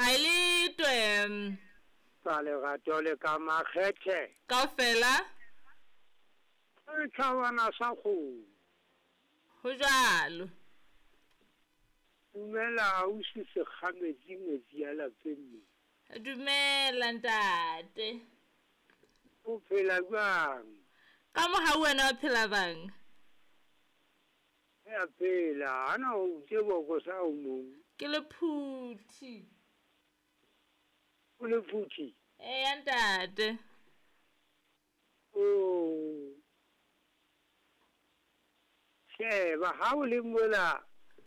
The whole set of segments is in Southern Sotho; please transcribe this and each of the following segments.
A le twe. Ka lerato le ka makgethe. Kaofela. Setjhabana sa kgomo. Ho jwalo. Dumela ausi Sekgametsi ngwetsi ya lapeng mo. Dumela ntate. O phela jwang? Ka mohau wena o phela bang? Re a phela, ana o tse boko sa o mong. Ke lephuthi. O lephuthi? Eya ntate. Oh. Sheba ha o le mola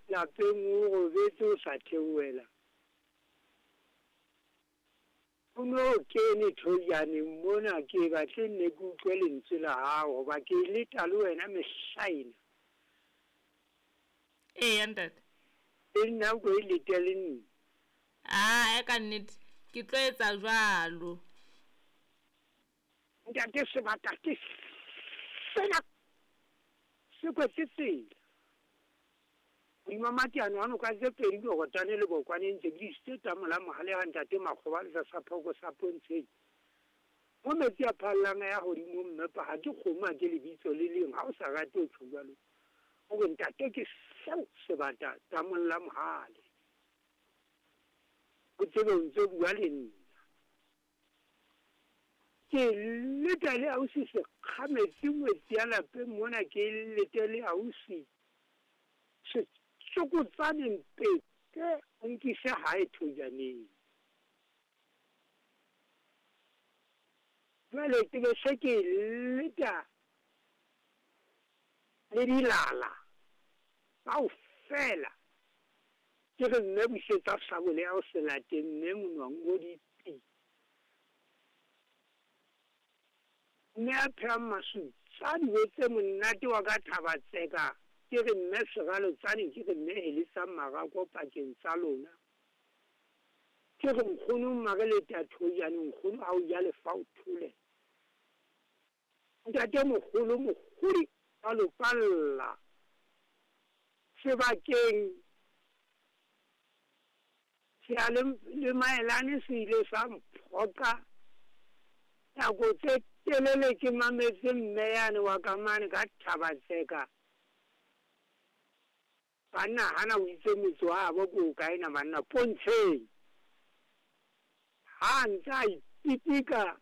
lapeng o robetse o sa theohela. O no kene thojaneng mona ke batle nne ke utlwe lentswe la hao hoba ke leta le wena mehla ena. Eya ntate. Le nna o ko e lete le nna. Aa ka nnete ke tlo etsa jwalo. Ntate sebata ke sena se kwetse tsela. Hodima mateano a noka tse pedi Jorotane le Bokwane ntse ke isitse tamola mohale ha ntate Makgoba le tlasa phoko sa pontsheng. Mo metsi a phallang a ya hodimo mmepa ha ke kgomo ha ke lebitso le leng ha o sa rate ho tjho jwalo. O re ntate ke seo sebata tamolla mohale. O tsebe o ntso bua le nna. Ke leta le ausi Sekgametsi ngwetsi ya lapeng mona ke lete le ausi Setsokotsane Mpete o nkise hae thojaneng. Jwale ke be se ke leta le dilala kaofela. Ke re mme busetsa sabole ya ho se late mme monwang o dipi. Mme a phehang masutsa dijo tse monate wa ka thaba tseka. Ke re mme seralotsane ke re mme heletsang marako pakeng tsa lona. Ke re nkgono mmare leta thojane nkgono ha o ja lefa o thole. Ntate moholo mohodi a lopalla sebakeng sea le maelane se ile sa mphoqa nako tse telele ke mametse mme yane wa ka mane ka thaba tseka. Banna hana o itse motse wa habo ke o kae na banna pontsheng. Ha ntse a ipitika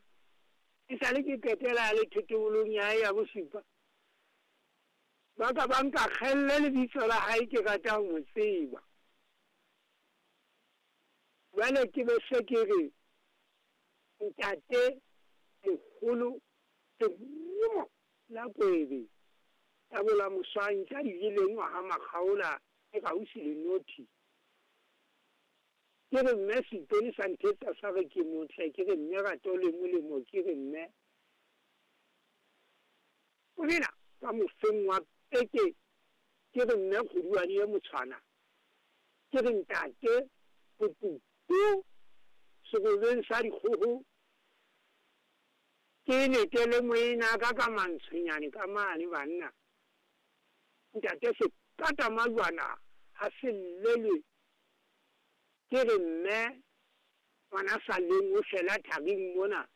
e sale ke qetela le thetobolong ya hae ya bosupa. Ba ka ba nka kgelle lebitso la hae ke rata ho mo tseba. Jwale ke be se ke re ntate moholo lerumo la kwebe tabola moswang tša di jeleng ngwaga makgaola e gausi le nothi. Ke re mme seipone sa nthetsa sa re ke motle ke re mme rato le molemo ke re mme morena ka mofeng wa peke ke re mme kgoduane ye motshwana ke re ntate botutu serobeng sa dikgoho ke letele moena ka ka mantshwenyane ka mane banna. Ntate se kata majwana ha se llelwe. Ke re mme ngwana sa leng o fela thabeng mona.